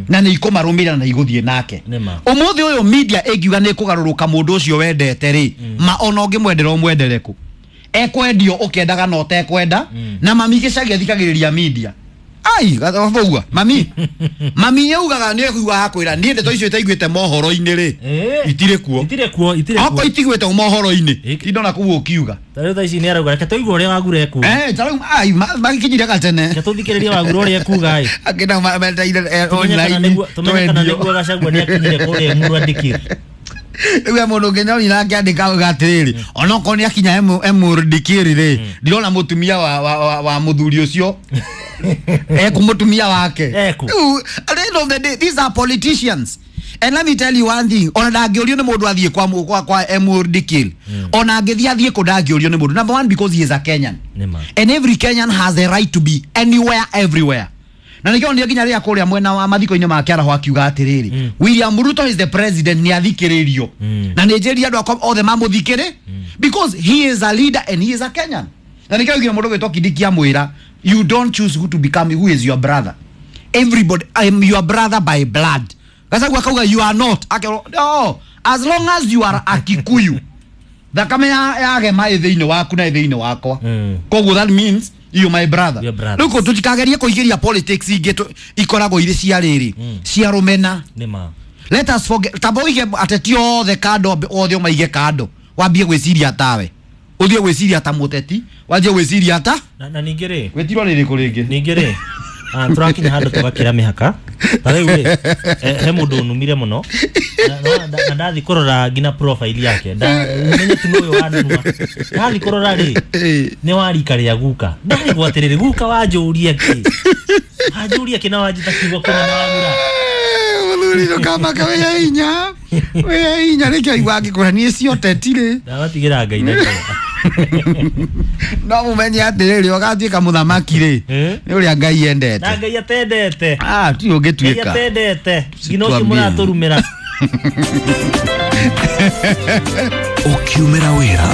Na nĩ ikũmarũmĩrĩra na igũthiĩ nake. Ũmũthĩ ũyũ media ĩngiuga nĩ kũgarũrũka mũndũ ũcio wendete rĩ, ma ona ũngĩmwendera ũmwendere kũ, ekwendio ũkĩendaga na ũtekwenda. Na mami gĩcagi athikagĩrĩria media. Ai gathogua mami mami yaugaga nĩ ekuaga kwĩra niĩ ndeto icio itaiguĩte mohoro-inĩ rĩ, itirĩ kuo, itirĩ kuo, itirĩ kuo, okorwo itiguĩte mohoro-inĩ indona kũu ũkiuga. Ta rĩu thaa ici nĩ arauga reke tũigue ũrĩa Wagura ekuga. Ta rĩu ai magĩkinyire gatene. Reke tũthikĩrĩrie Wagura ũrĩa ekuga ĩ. Akĩna meteire online. Tũmenye kana nĩguo Gachagua nĩ akinyire kũrĩa Emurua Dikirr. Rĩu mũndũ ũngĩ nyoni nake andĩka auga atĩrĩrĩ, onokorwo nĩ akinya Emurua Dikirr rĩ, ndirona mũtumia wa mũthuri ũcio eku mũtumia wake. Eku. Rĩu, at the end of the day, these are politicians. And let me tell you one thing, ona ndangĩũrio nĩ mũndũ athiĩ kwa Emurua Dikirr. Ona angĩthiĩ athiĩ kũ ndangĩũrio nĩ mũndũ. Number one, because he is a Kenyan. Nĩma. And every Kenyan has the right to be anywhere, everywhere. Na nĩkĩo nĩ nginya rĩrĩa kũrĩa mwena wa mathiko-inĩ ma Kĩaraho akiuga atĩrĩrĩ, William Ruto is the president, nĩ athikĩrĩrio. Na nĩ njĩrire andũ akwa othe mamũthikĩrĩ because he is a leader and he is a Kenyan. Na nĩkĩo nginya mũndũ gwĩtwo Kindiki amwĩra, you don't choose who to become, who is your brother. Everybody, I am your brother by blood. Gachagua akauga you are not. Akerwo, no, as long as you are a Kikuyu, thakame ya gema ĩ thĩinĩ waku na ĩ thĩinĩ wakwa. Koguo that means you my brother. Your brothers. Rĩu tũtikagerie kũingĩria politics ingĩ ikoragwo irĩ cia rĩrĩ, cia rũmena. Nĩma. Let us forget, tamba ũige ateti othe kando, othe ũmaige kando, wambie gwĩciria tawe, ũthiĩ gwĩciria ta mũteti, wanjie gwĩciria ta Na ningĩ rĩ, gwĩtirwo rĩrĩkũ rĩngĩ? Ningĩ rĩ, tũrakinya handũ tũgakĩra mĩhaka. Ta rĩu rĩ, he mũndũ ũnumire mũno na ndathi kũrora nginya profile yake, menye tu nĩ ũyũ wanunua. Ndathi kũrora rĩ, nĩ wa rika rĩa guka. Ndarigwo atĩrĩrĩ, guka wanjũria kĩ? Wanjũria kĩ na wanjĩta kiugo kĩna na wagura? Mũthuri ndũkamake, wĩ hinya, wĩ hinya, nĩkĩo aigua angĩkwĩra niĩ cio teti rĩ. Ndabatigĩra Ngai na No mũmenye atĩrĩrĩ, ũgatuĩka mũthamaki rĩ, nĩ ũrĩa Ngai endete. Na Ngai atendete. Ti ũngĩtuĩka. Ngai atendete. Nginya ũcio Tuambie. mũratũrumĩra. Ũkiumĩra wĩra.